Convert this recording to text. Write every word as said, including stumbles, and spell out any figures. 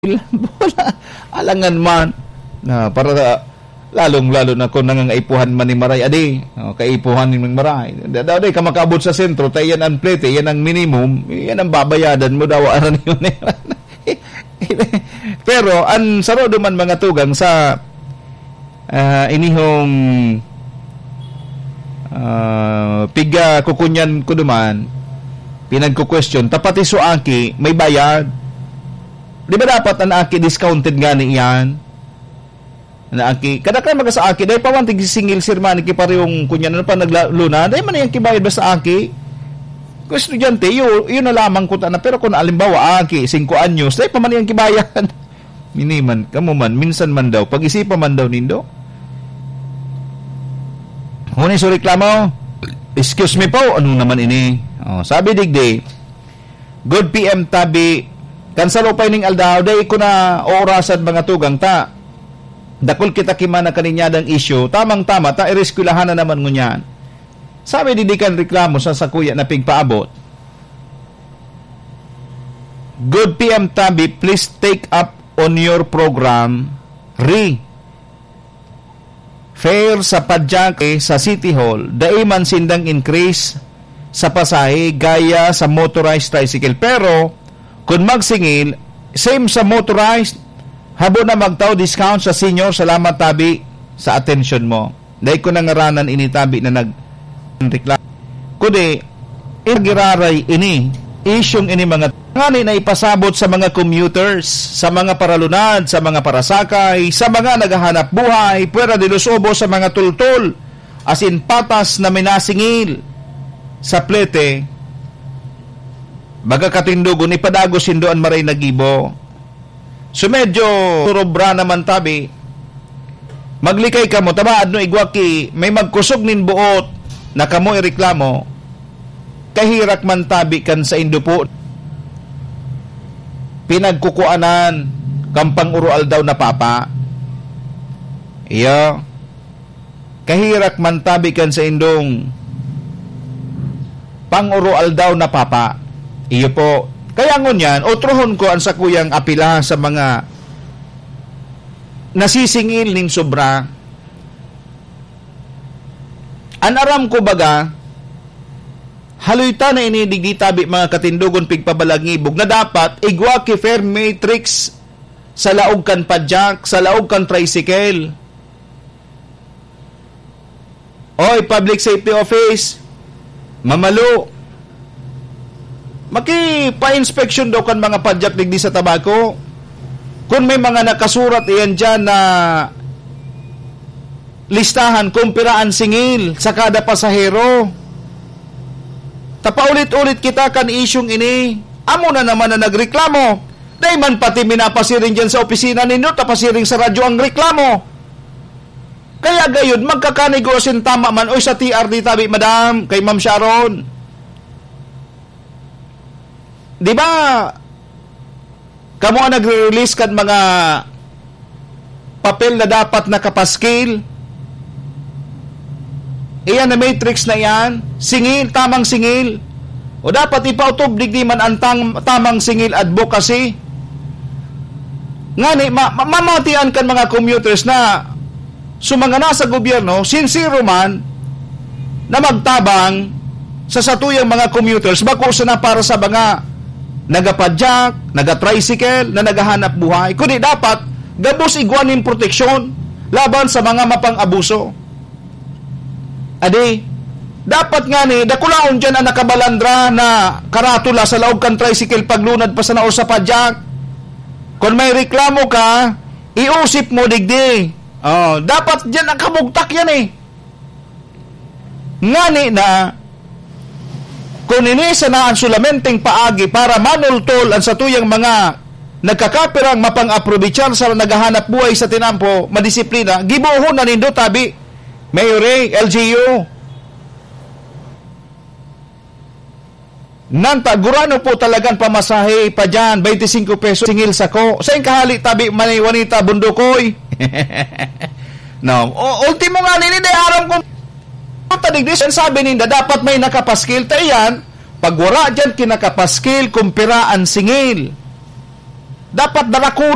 Wala. Alangan man. Na, para sa, lalong-lalo na kung nangangaipuhan man ni Maray, adi, oh, kaipuhan ni Maray. Da-, da-, di ka makaabot sa sentro, ta iyan ang plete, iyan ang minimum, iyan ang babayadan mo daw, aran yun, eh. Pero, ang saro duman, mga tugang, sa, ah, inihong, ah, piga kukunyan ko duman, pinagkukwestiyon, ta pati so aki, may bayad. Di ba dapat an aki discounted ngani iyan? An aki, kadaklan man ka sa aki, dai pa man tigsisingil, sir, man, ki parehong kunyan, ano pa, nagla-, luna, dai man iyan kibayad basta aki. Kung estudyante, iyo, iyo na lamang kuta na. Pero kung alimbawa, aki, singko anyos, dai pa man iyan kibayad. Mini man, kamo man, minsan man daw, pag-isipan man daw nindo. Huni so reklamo, "Excuse me po, ano naman ini?" Oh, sabi digdi, "Good P M tabi, kan sa lupay ning aldaw, dai ko na oorasad mga tugang ta. Dakul kita ki man na kaninyadang isyu, tamang-tama ta, ireskwelahan na naman ngunyan." Sabi digdi kan reklamo sa sakuya na pigpaabot, "Good P M tabi, please take up on your program, re fare sa padyake sa City Hall, dai man sindang increase sa pasahe gaya sa motorized tricycle. Pero, kun magsingil, same sa motorized, habo na magtao discount sa senior. Salamat tabi sa atensyon mo." Dai ko na ngaranan ini tabi na nag-, reklamo. Kundi, Giraray ini, isyung ini mga ngani na ipasabot sa mga commuters, sa mga paralunad, sa mga parasakay, sa mga naghahanap buhay, puwera de los ubos, sa mga tultol, asin patas na minasingil sa plete, baga katindogon, ipadagos nindo an maray na gibo. So, medyo surobra naman tabi. Maglikay kamo, ta maadno igwa ki may magkusog nin boot na kamo ireklamo, kahirak man tabi kan saindo po pinagkukuanan kan pang-uroaldaw na papa. Iyo. Kahirak man tabi kan saindong pang-uroaldaw na papa. Iyo po. Kaya ngunyan, otrohon ko an sakuyang apila sa mga nasisingil nin sobra. An aram ko baga, haloy ta na ini digdi tabi mga katindogon pigpabalangibog na dapat igwa ki fare matrix sa laog kan padyak, sa laog kan tricycle. Oy, Public Safety Office, mamalo. Makipa-inspeksyon daw kan mga padyak digdi sa Tabaco. Kun may mga nakasurat iyan diyan na listahan kung pira an singil sa kada pasahero. Ta paulit-ulit kita kan isyung ini. Amo na naman na nagreklamo. Dai man pati minapasiring diyan sa opisina ninyo, ta pasiring sa radyo ang reklamo. Kaya gayud, magkakanigos in tama man, oy, sa T R D tabi, madam, kay Ma'am Sharon. Di ba, kamo ang nagre-release kan mga papel na dapat nakapaskil? Iyan na matrix na iyan, singil, tamang singil. O dapat ipautob digdi man an tang-, tamang singil advocacy. Ngani, ma-, ma-, mamatian kan mga commuters na so mga nasa gobyerno, sinsero man na magtabang sa satuyang mga commuters, bako sana para sa mga nagapadyak, nagatricycle, na naghahanap buhay, kundi dapat gabos igwa nin proteksyon laban sa mga mapang-abuso. Adi, dapat ngani, dakulaon diyan an nakabalandra na karatula sa laog kan tricycle paglunad pa sana o sa padyak. Kun may reklamo ka, iusip mo digdi. Oh, dapat diyan nakabugtak yan eh. Ngani na, kun ini sana an solamenteng paagi para manultol an satuyang mga nagkakapirang mapang-aprobichar sa naghahanap buhay sa tinampo, madisiplina, gibohon na nindo tabi, Mayor Ray, L G U. Nanta, gurano po talagang pamasahe pa dyan, twenty-five pesos, singil sako. Sa kahali tabi, Manay Juanita, Bundukoy. No, o, ultimo nga nini, di aram kung tadig di, sabi ninda, dapat may nakapaskil. Ta iyan, pag wala dyan kinakapaskil, kumpira an singil. Dapat darakula